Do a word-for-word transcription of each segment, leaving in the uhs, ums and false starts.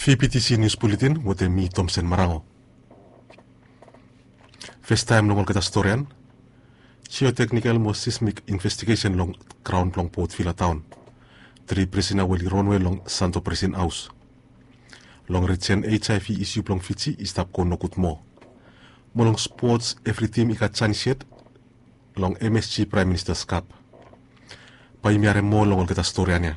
P P T C News Bulletin wetem mi Tomsen Marango. Festaem long olgeta storian, jioteknikel mo sismik investigesen long graon blong Port Vila taon. Tri prisina we oli ronwe long Santo Prisin Haos. Long rijen H I V isiu blong Fiji i stap go nogud moa. Mo long spots, evri tim i gat janis yet long M S G Praem Minista Kap. Bae yumi harem moa long olgeta storian ya.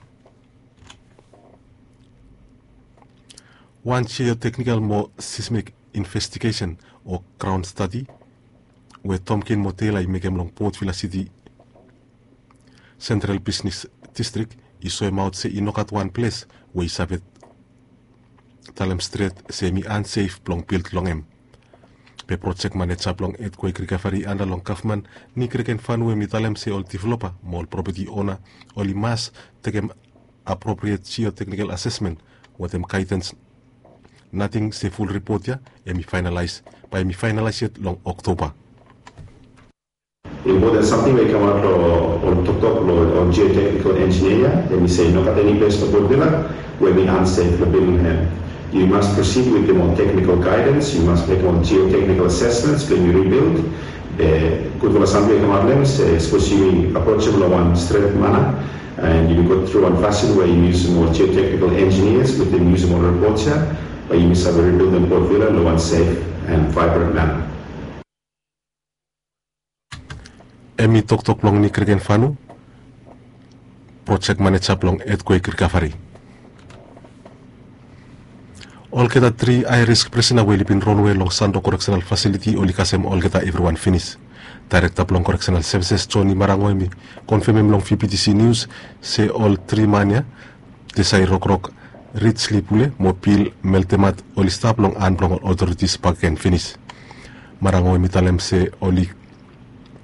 Wan jioteknikel mo sismik investigesen o graon stadi we Tomkin mo Tela i mekem long Port Vila Siti Sentral Bisnes Distrik i soemaot se i no gat wan ples we i save talem stret se hemi ansef blong bild long hem. Be projek maneja blong etkwek rikavari anda long gavman, Nick Regenfanu, hemi talem se ol developa mo ol propeti ona oli mas tekem apropriet jioteknikel asesmen wetem gaedens. Nating se ful ripot ya hemi faenalaes, bae hemi faenalaes yet long Oktoba. Impoten samting we i kamaot long ol toktok long ol jioteknikel enjinia ya, hemi se i no gat eni ples long Port Vila we hemi ansef blong bildim hem. Yu mas prosid wetem ol teknikel gaedens, yu mas mekem ol jioteknikel asesmens blong yu ribild. Be gudfala samting we i kamaot long hem se sapos yumi aprojem long wan stret mana, and yumi go tru wan fasin we yumi yusum ol jioteknikel enjinias wetem yusum ol ripots ya, bae yumi save ribildim Port Vila long wan sef and vaebran mana. Hemi toktok blong Nick Regenfanu, projek maneja blong etkwek rikavari. Olgeta tri hae risk prisina we oli bin ronwe long Santo Koreksenal Fasiliti oli kasem olgeta evriwan finis. Daerekta blong Koreksenal Sevises, Johnny Marango, hemi konfemem long V P T C Nius se ol tri man ya, Desai Rokrok, Rich Lipule mo Bill Meltemat, oli stap long han blong ol otoritis bakegen finis. Marango hemi talem se oli